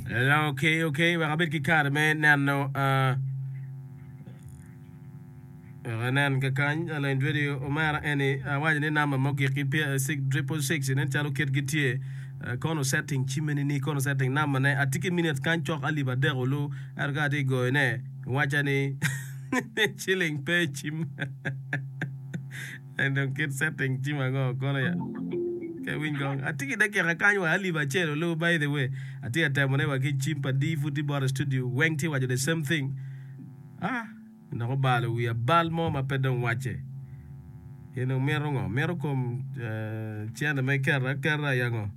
Ok, ok, wek abed ki kare me neno uh, wek anen kakany alony radio omera eni awaco ni namba ma ogik ki 666 nen calo kitgi tye uh, kono setting cimme ni kono setting namba ne atye ki minutes kany cok alip adek olu ento ka atye goyo ne waca ni ciling pe i cim En dong kit setting cim ango kono ya? Ke winy kong. Atye ki dakika kany wa alip acel olu by the way. Atye ka temo ne wa ki cim pa D pud tye bota i studio weng tye waco the same thing. Ah, dok obalo wiya bal mo ma pe dong wacce. In dong mito ngo? Mito kom eh, cente ma iketo aketa ya ngo?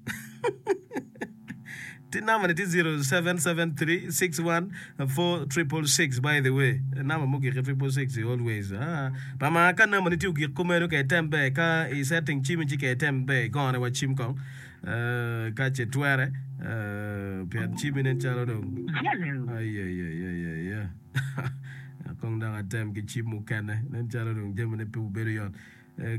Ti namba ni tye 0773614666 by the way namba mugik ki triple six always ah pa ma ka namba ni tye ogik kumeno ka item ber ka i setting cimi ci ka item ber igone wa cim kong eh, ka ce twere eh, pien cimi nen calo dong ayayayaya kong dok atem ki cim mukene nen calo dong jamine pe obedo yot.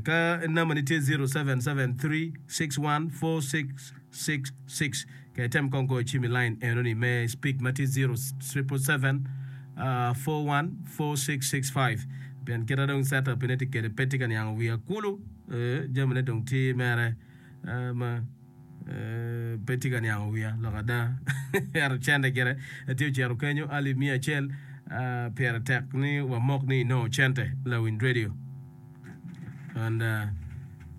Ka namba ni tye 0773614666 ka item kong goyo cim i line eno ni me speak ma tye 0777414665 pien kita dong set up ne tye kede pe tye ka niango wiya kulu jami ne dong tye mere ma pe tye ka niango wiya lok ada ento cente gire tye ocito kenyo alip miya acel pire tek ni wamok ni inongo cente lawiny radio. And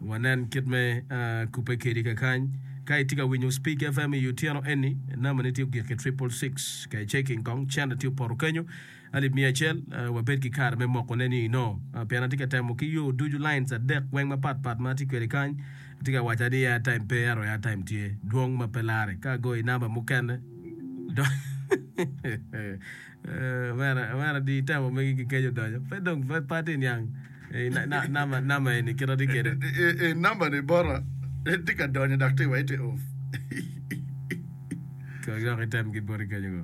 wanen kit me kubbe kedi kakany. Ka itye ka winyo Speak FM i otyeno eni, namba ni tye ogik ki 666. Ka iceking kong, cente tye opoto kenyo alip 100. Wabed ki kare me moko ne ni ino. Pien atye ka temo ki yo ducu lines adek weng mapat pat ma atye kwede kany. Atye ka waca ni airtime pe ento airtime tye dwong ma pe lare. Ka agoyo i namba mukene, Omera di itemo megi ki keco donyo pe dong pe atye niang namba eni kit atye kede. Namba ni bota tye ka donyo dok tye wa ite off. Kong dok item ki boti kenyo go.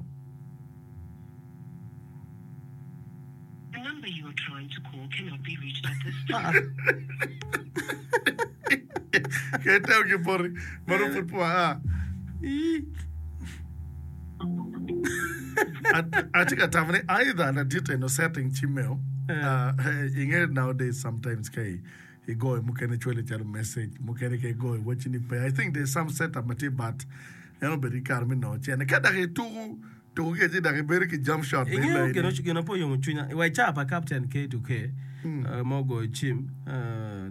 Kong item ki boti ma dong pud pe wa a. Atye ka tamo ni either ladit eno setting cimmeo inge nowadays sometimes ka igoyo mukene cwali calo message mukene ka igoyo wacci ni pe I think there's some setup ma tye but en obedo ki kare me nongo cene ka dok ituku tuku ki ci dok ibedo ki jump shot bene Ingeyo laini. gin gin ma pe oyomo cwinya wa i caa pa captain K2K ma ogoyo cim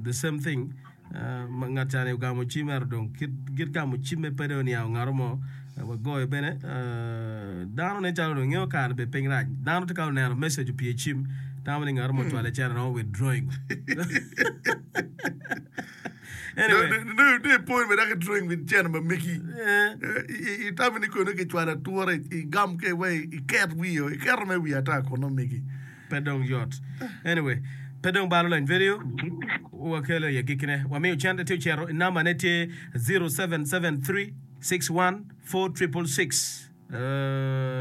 the same thing Ngat ca ni ogamo cim ento dong kit git gamo cimme pe dong oniango ngato mo wagoyo bene dano nen calo dong ingeyo kare bene piny rac dano tye ka oneno message opye cim tamo ni ngato mo ocwale cene romo withdrawing anyway Nongo ipwony bene dok idrawing with cene ma megi itamo ni kono kicwalo atura igam ki wa iket wiyo iketo me wiyo ata kono megi. Pe dong yot. Anyway, pe dong balo lony vedio wakelo i agikkine. Wamiyo cente tye ocito i namba ne tye 0773614666.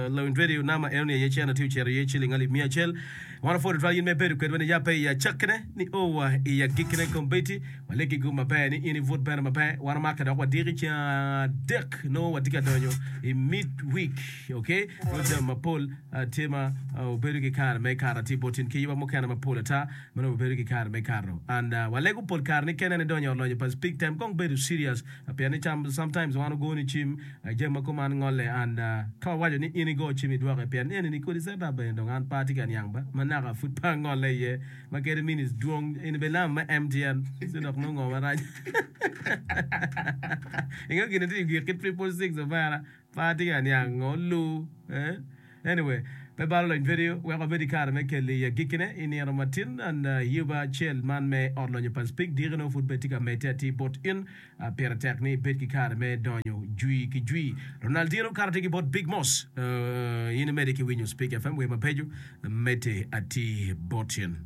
Lony vedio namba eno ni aye cente tye ocito iye ciling alip miya acel. Wan wapwodo tutwal in ma ibedo kwedwa ni yabbe i acakkine ni o wa i agikkine. Kombeddi walegi gum maber ni in ibut bene maber. Wan omake dok wadiki ceng adek nongo watye ka donyo i mid week. Okay? Nongo jami mapol Tye ma wubedo ki kare me kato atir bot in ki yuba mukene mapol ata ma nongo wubedo ki kare me kato. And walego pol kare ni kene ni donyo i ot lonyo pa speak tem kong bedo serious pien ni sometimes wan ogo ni cim jami ma kuman ngole and ka wawaco ni in igo cim idwoke pien eni ni kodi set up bene dong an pe atye ka niang ba ma naka pud pe angole iye ma kadi minutes dwong eni bene namba me MTN ci dok nongo ngo marac ingeyo gin ni tye i gik ki triple six omera Pe atye ka niang ngo lu eh. Anyway, pe balo lony vedio wek wabed ki kare me kelo i agikkine i nino matin and yuba acel man me ot lonyo pa Speke diki nongo pud bed tye ka medde atir bot in. Pire tek ni ibed ki kare me donyo jwi ki jwi. Ronaldinho kato tye ki bot Big Mos. In imedde ki winyo Speke FM wer mabeco medde atir bot in.